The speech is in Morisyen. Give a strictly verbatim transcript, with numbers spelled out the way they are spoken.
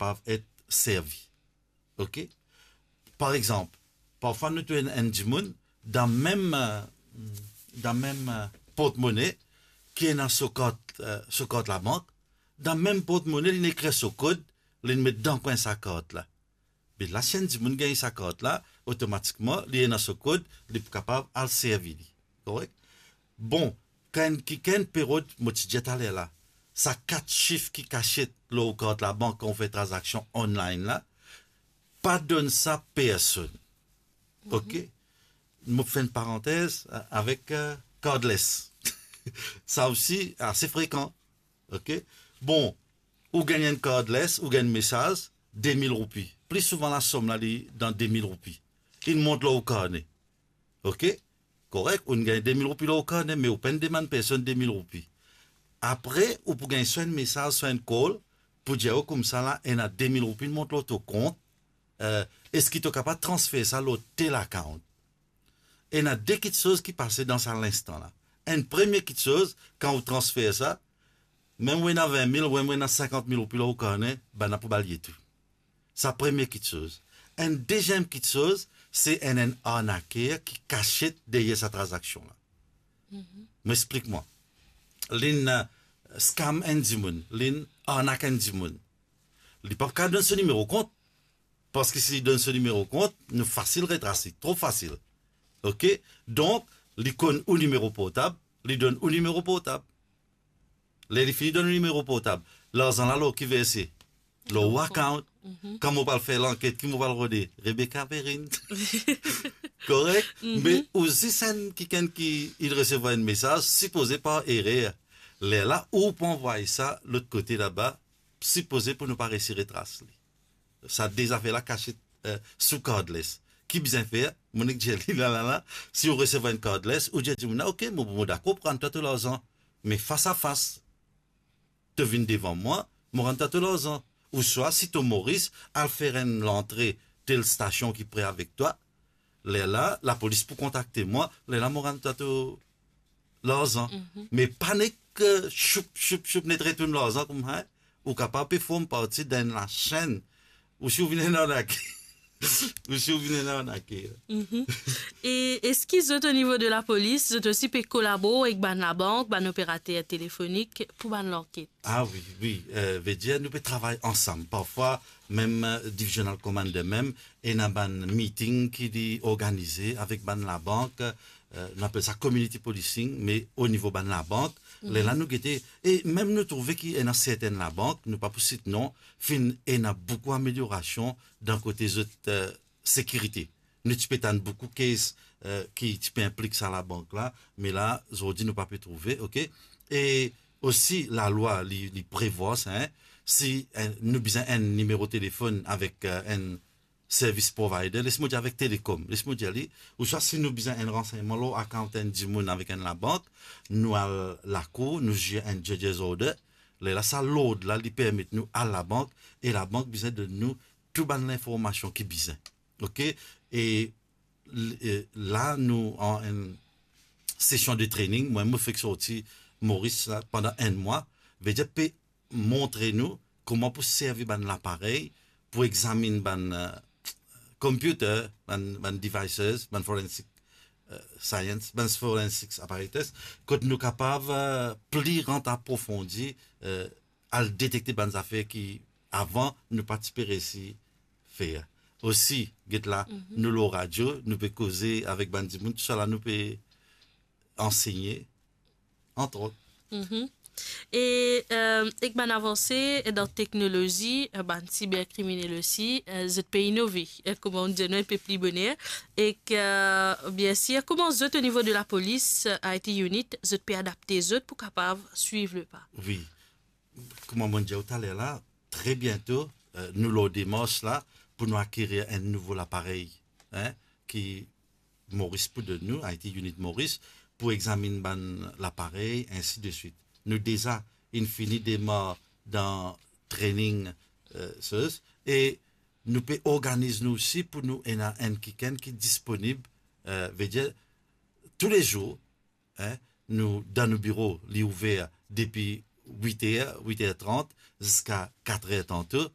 kapav et servi. Ok? Par exanp, parfwa nou trouv enn, enn dimoun dan mem, eh, dan mem, eh, portmone ki ena so kart, eh, so kart labank, dan mem portmone, li ekrir so kod, li met dan kwin sa kart la. Be la, si enn dimoun gagn sa kart la, otomatikman, li ena so kod, li pou kapav al servi li. Korek? Bon, kan kikenn pe rod, mo ti dir taler la, sa kat sif ki kasiet lor kart labank kan ou fer tranzaksion online la, pa donn sa personn. Ok? Mo fer enn parantez, eh, avek, eh, cardless. Sa osi ase frekan. Ok? Bon, ou gagn enn cardless, ou gagn mesaz, de mil roupi. Pli souvan lasom la, li dan de mil roupi. Li mont lor ou karne. Ok? Korek, ou gagn de mil roupi lor ou karne, me ou pa'nn demann personn de mil roupi. Apre, ou pou gagn swa enn mesaz, swa enn call, pou dir ou koumsa la, ena de mil roupi mont lor to kont, eh, eski to kapav transfer sa lor tel account? Ena de kitsoz ki pase dan sa linstan la. Enn premie kitsoz, kan ou transfer sa, mem ou ena vin mil, ou mem ou ena sinkant mil roupi lor ou karne, bann la pou bal ye tou. Sa premie kitsoz. Enn deziem kitsoz, se enn, enn arnaker ki kasiet deryer sa tranzaksion la. Mo explik mwa. Li'nn, eh, scam enn dimoun, li'nn arnak enn dimoun. Li pa kapav donn so nimero kont, parski si li donn so nimero kont, nou fasil retras li, tro fasil. Ok? Donk, li konn ou nimero portab, li donn ou nimero portab. Ler li fini donn ou nimero portab, larzan la lor ki verse? Lor ou account. Kan mo pou al fer lanket, ki mo pou al rode? Rebecca Perrine. Korek? Me ou zis enn kikenn ki inn resevwar enn mesaz, sipoze par erer. Lerla ou pou anvway sa lot kote laba, sipoze pou nou pa resi retras li. Sa de zafer la kasiet, eh, sou cardless. Ki bizin fer? Mo nek dir li la, la, la, si ou resevwar enn cardless, ou dir dimoun la, ok, mo, mo dakor pran twa to larzan, me fas a fas. To vinn devan mwa, mo rann twa to larzan. Ouswa, si to Moris, al fer enn lantre tel stasion ki pre avek twa, lerla, lapolis pou kontakte mwa, lerla mo rann twa to larzan. Me pa nek, eh, choup, choup, choup, net retourn larzan koumsa, ou kapav pe form parti dan lasenn, ou si ou vinn enn arnake. Ou si ou vinn enn arnake. E eski zot, o nivo de lapolis, zot osi pe kolabor ek bann labank, bann operater telefonik pou bann lanket? Ah wi, wi, eh, vedir nou pe travay ansam. Parfwa, mem, eh, divisional commander mem, ena bann meeting ki li organize avek bann labank, eh, nou apel sa community policing, me o nivo bann labank, lerla nou gete, e mem nou trouve ki ena sertenn labank, nou pa pou sit non, finn ena boukou ameliorasion dan kote zot, eh, sekirite. Nou ti pe tann boukou case, eh, ki ti pe inplik sa labank la, me la, zordi nou pa pe trouve, ok? E osi, lalwa, li, li prevwar sa, en, si, eh, nou bizin enn nimero telefonn avek, eh, enn service provider, les mo dir avek Telecom, les mo dir li, ouswa si nou bizin enn ransegnman lor account enn dimoun avek enn labank, nou al lakour, nou zir enn judge's order, lerla sa lord la, li permet nou al labank, e labank bizin donn nou tou bann linformasion ki bizin. Ok? E l-, e la, nou an enn sesion de training, mwa, mo fek sorti Moris la pandan enn mwa, vedir pe montre nou kouma pou servi bann laparey pou examinn bann, eh, computer, bann, bann devices, bann forensic, eh, science, bann forensic apparatus, kot nou kapav, eh, pli rant aprofondi, eh, al detekte bann zafer ki avan nou pa ti pe resi fer. Osi, get la, nou lor radio, nou pe koze avek bann dimoun, tousala nou pe ansegne, antrot. E, eh, ek bann avanse dan teknolozi, eh, bann siberkriminel osi, eh, zot pe inove, eh, kouma nou dir, nou enpe pli boner. Ek, eh, biensir, kouma zot, o nivo de lapolis, eh, I T unit, zot pe adapte zot pou kapav swiv lepa? Wi. Kouma mo dir ou taler la, tre biento, eh, nou lor demars la pou nou akirir enn nouvo laparey, en, ki Moris pou donn nou, I T unit Moris, pou examinn bann laparey, ensi de swit. Nou deza inn fini demar dan training, eh, soz, e nou pe organiz nou osi pou nou ena enn kikenn ki disponib, eh, vedir, toulezour, en, nou, dan nou biro, li ouver depi wit er, wit er trant, ziska kat er tanto,